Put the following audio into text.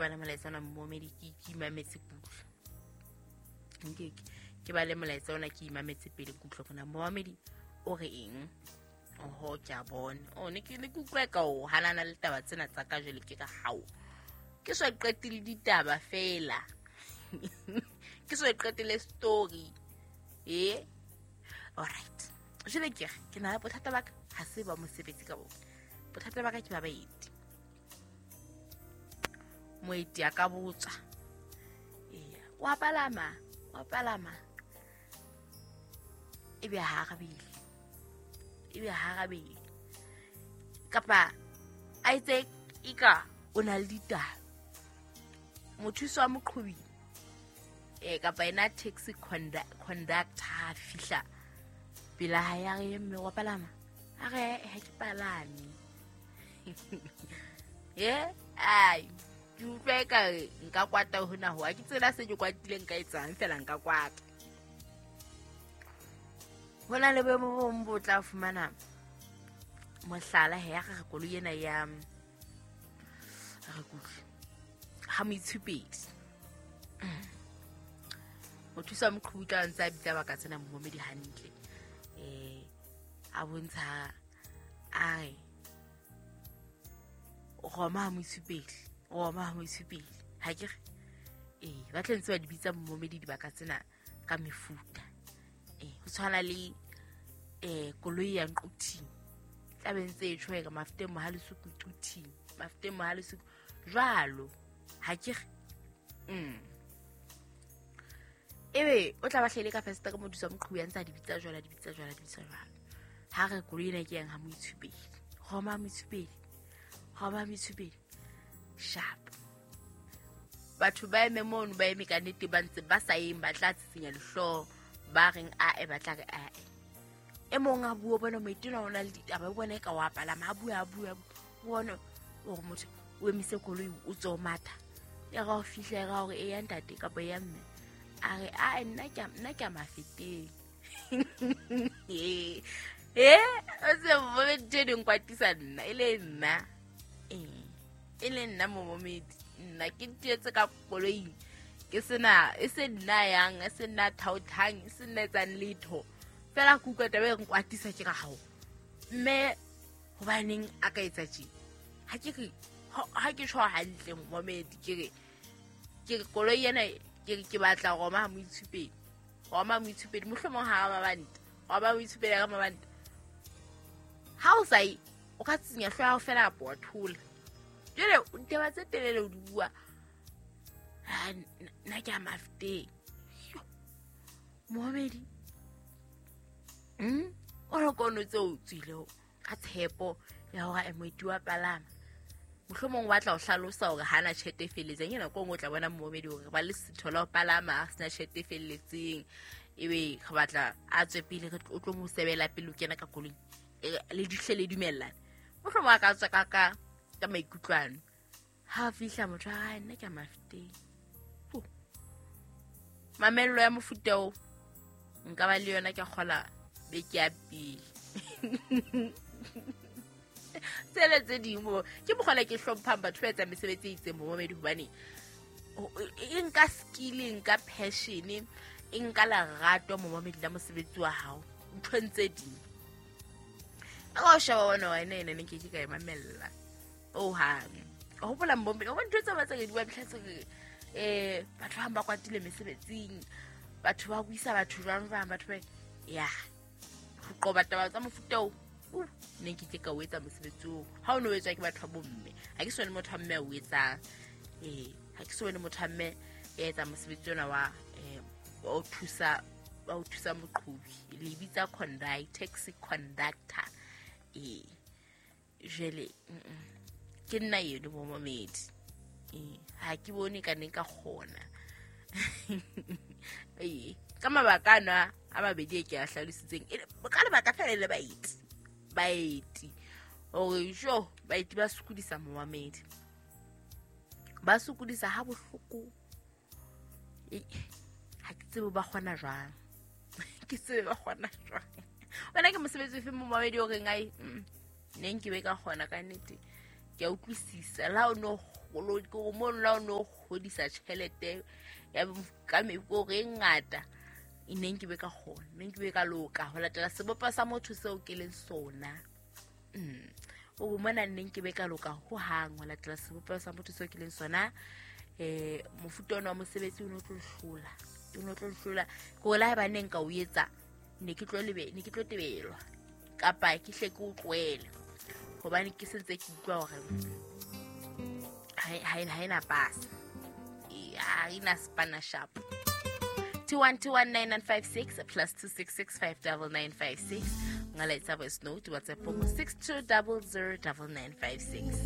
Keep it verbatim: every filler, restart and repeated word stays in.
Bala molaetsa ona momedi ke ke imametse kutlwa. Nke ke bale molaetsa ona ke imametse pele kutlwa bona momedi o re eng. Oho ke a bona. O ne ke le kutlwa ka o hanana le taba tsena tsa ka jwale ke ka hao. Ke so qetile ditaba fela. Ke so qetile story. Eh? All right. Jwale ke re ke na le bothata ba ka ha se ba mosebetsi ka bona. Bothata ba ka ke ba baeti. Moeti a ka botsa. Eya, wa palama, wa palama. Ebe ha arabile. Ebe ha arabile. Kapa a itse ika o na le ditaba. Mothusi wa moqhobi eh kapa ena taxi conductor ha fihla pela hae a re mme wa palama. A re ha ke palame. Eh, ai ke utlwa ka nka kwata hona ho a ke tsela se ke kwatileng ka etsang fela nka kwata. Hona le boemo bo bong bo tla fumana mohlala he ya re koloi ena ya re kutlwe ha moitshupedi. Mothusi wa moqhobi tla ntse a bitsa baka tsena momedi hantle. Eh a bontsha a re Roma ha moitshupedi. Roma ha moitshupedi. Ha ke re eh ba tla ntse ba di bitsa momedi dibaka tsena ka mefuta. Eh ho tshwana le eh koloi ya Nquthing. Tla be ntse e tjhoe ka mafuteng mohalesuku Nquthing, mafuteng mohalesuku jwalo. Ha ke re mm ebe o tla ba hlele ka festa ka mothusi wa moqhobi ya ntse a di bitsa jwalo, di bitsa jwalo, di bitsa jwalo. Ha re koloi ena ke yang ha moitshupedi. Roma moitshupedi. Roma moitshupedi. Sharp. Batho ba eme mono ba eme ka nnete ba ntse ba sa yeng ba tla tsitsinya lehlooho ba reng a e ba tla re a e. E mong a bua bona moetona o na le ditaba o bona e ka wa palama a bua a bua bona hore motho o emise koloi o tswe o matha. Ya ga o fihla ga hore e ya ntate kapa ya mme. A re a nna ke nna ke mafeteng. Eh o se momedi di nkwatisa nna e le nna. Eh e le nna momedi nna ke tietse ka koloi ke sena e se nna yang e se nna thaothang e se nna etsang letho fela ke utlwa taba e nkwatisa ke ka hao mme hobaneng a ka etsa tje ha ke re ha ke tjho hantle momedi ke re ke re koloi ena ke ke batla Roma ha moitshupedi. Roma moitshupedi mohlomong ha mabanta. Roma moitshupedi ha mabanta. Ha o sa o ka tsinya hlooho fela wa thola. Jwale ditaba tse telele o di bua. Ha nna ke a mafuteng. Momedi. Mm o re kono tse o tswile ka tshepo ya hore moeti wa palama. Mohlomong wa tla o hlalosa hore hana tjhelete e felletseng ena ko o tla bona momedi hore ba le sitho la ho palama a sena tjhelete e felletseng ebe re batla a tswe pele re o tlo mo sebela pele o kena ka koloi le dihle le dumellana. Mohlomong a ka tswa ka ka ka maikutlwano. Ha fihla motho a nna ke mafuteng. Mamello ya mofuta o nka ba le yona ke kgola beke ya pele. Tsele tse ding mo ke mokgwa ke hlomphang batho ba etsang mesebetsi e itseng momedi hobane e nka skill, e nka passion, e nka lerato momedi la mosebetsi wa hao nthong tse ding. A o sheba bona wena ene ne ke ke ka e mamella o hang. O hopola mbombe o ntho tsa batsa ke di ba mhlatse eh batho ba ba kwatile mesebetsing batho ba buisa batho jwang jwang batho ba ya ho qoba taba tsa mofuta o ne ke ka o etsa mosebetsi oo ha o no etswa ke batho ba bomme. Ha ke sone motho wa mme o etsang eh ha ke sone motho wa mme ya etsa mosebetsi ona wa eh o thusa wa o thusa moqhobi le bitsa conductor, taxi conductor. Eh jele ke nna eno bo momedi eh ha ke bone ka ne ka kgona. Eh ka mabaka ana a mabedi e ke a hlalositseng ka lebaka fela le baeti baeti hore jo baeti ba sokodisa momamedi ba sokodisa ha bohloko. Ha ke tsebe ba kgona jwang. Ke tsebe ba kgona jwang. Wena ke mosebetsi ofe momamedi o reng ai ne nke be ka kgona ka nnete ke a utlwisisa la o no kgolo ke gore mo nna o ne o godisa tšhelete ya ka mekoro e ngata e neng ke be ka kgona neng ke be ka loka ho latela sebopo sa motho seo ke leng sona. Mm. O mona neng ke be ka loka ho hang ho latela sebopo sa motho seo ke leng sona. Eh mofuta ona wa mosebetsi o ne o tlo hlola o ne o tlo hlola ke o la ba neng ka o etsa ne ke tlo lebe ne ke tlo tebelwa kapa ke hle ke o tlohele hobane ke sentse ke utlwa hore ha ha ina pass ha ina spana sharp. Two one two one nine nine five six plus two six six five double nine five six. Ngalaetsa voice note WhatsApp six two double zero double nine five six.